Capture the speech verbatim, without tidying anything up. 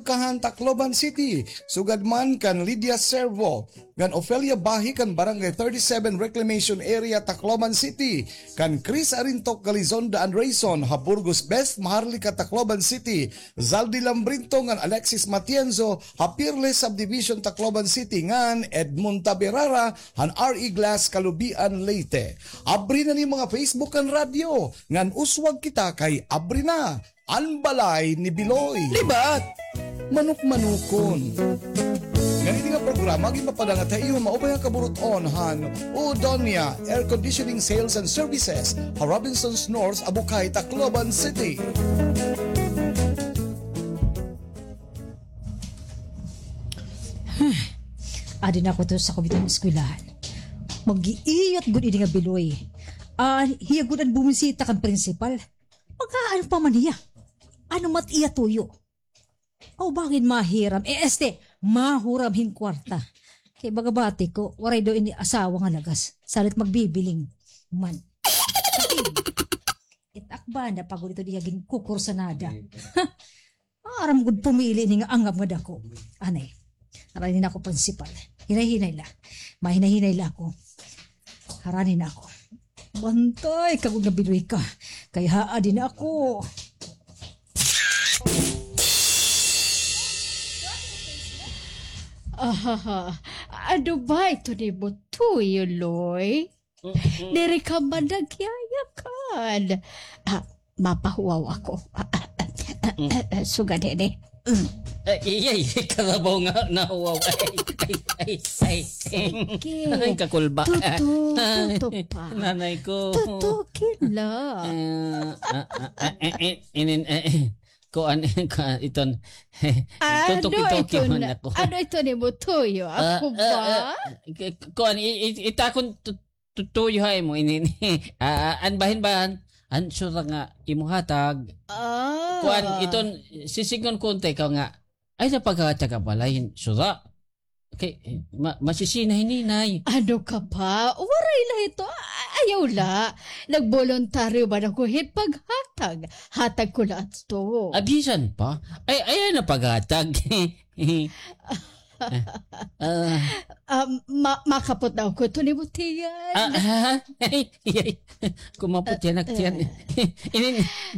Kahan, Tacloban City, sugad man kan Lydia Servo, kan Ofelia Bahi kan Barangay thirty-seven Reclamation Area, Tacloban City, kan Chris Arintok Galizonda Andreyson ha Burgos Best, Maharlika, Tacloban City, Zaldi Lambrinto ngan Alexis Matienzo ha Pirles Subdivision, Tacloban City, ngan Edmond Taberara han R E Glass, Calubian, Leyte. Abri na an iyo mga Facebook ngan radyo, ngan uswag kita kay abri na an Balay ni Biloy. Libat! Manok-manokon. Ngan ini nga programa ginpapadangat ha iyo maupay nga kaburut-on han Udonia Air Conditioning Sales and Services ha Robinsons North, Abukay, Tacloban City. Adi na ako to sa kubitan eskwelahan. Mag-iiyot gud ini nga Biloy. Ah, hiya gud an bumisita kan prinsipal. Mag-aano pa man hiya? Ano mat iya tuyo? Aw, bangin mahiram. Eh, este, mahuram hin kwarta. Kay baga bati ko, waray daw ini asawa nga lagas. Salit magbibiling man. It-ak ba na pagod ito diya ginkukursanada. Aram gud pumili ini nga angab nga dako. Anay. Harani na ako, prinsipal. Hinay-hinay la. Mahinay-hinay la ako. Harani na ako. Bantay ka gud nga Biloy ka. Kay haadi na ako. Ahaha. Ano ba ito ni Butuyo, Loy? Diri ka man nagyayakan. Ah, mapahuwaw ako. Sugad ini. Mm. Ay, iyay, karabaw nga nahuwaw. Ay, ay, ay, ay. Sige. Ay, kakulba. Tuto, tuto pa. Nanay ko. Tutukin la. Eh, ah, ah, ah, eh, eh, inin, eh, eh. Kuan, kuan, iton. Ano tutuki-tuki ito man na, ako. Ano ito ni Butuyo? Ah, ako ah, ba? Ah, k-, kuan, i-, i-, itakon tu-, tutuyo ha imo ini. Ah, ah, an bahin-bahan, an sura nga imo hatag. Ah. Kuan, iton, sisidngon ko unta ikaw nga, ay, napaghatag ka pala hin sura. Kay, ma-, masisina hi Ninay. Ano ka pa? Waray la ito. A-, ayaw la. Nagboluntaryo man ako hin paghatag. Hatag ko la ito. Ah, bisan pa? Ay, ayaw na paghatag. Ah, ah. Ah, ma-, makapot na ako ito ni Butiyan. Ah, ha? Ay, ay. Kumapot yan, ak-, yan. Inin-,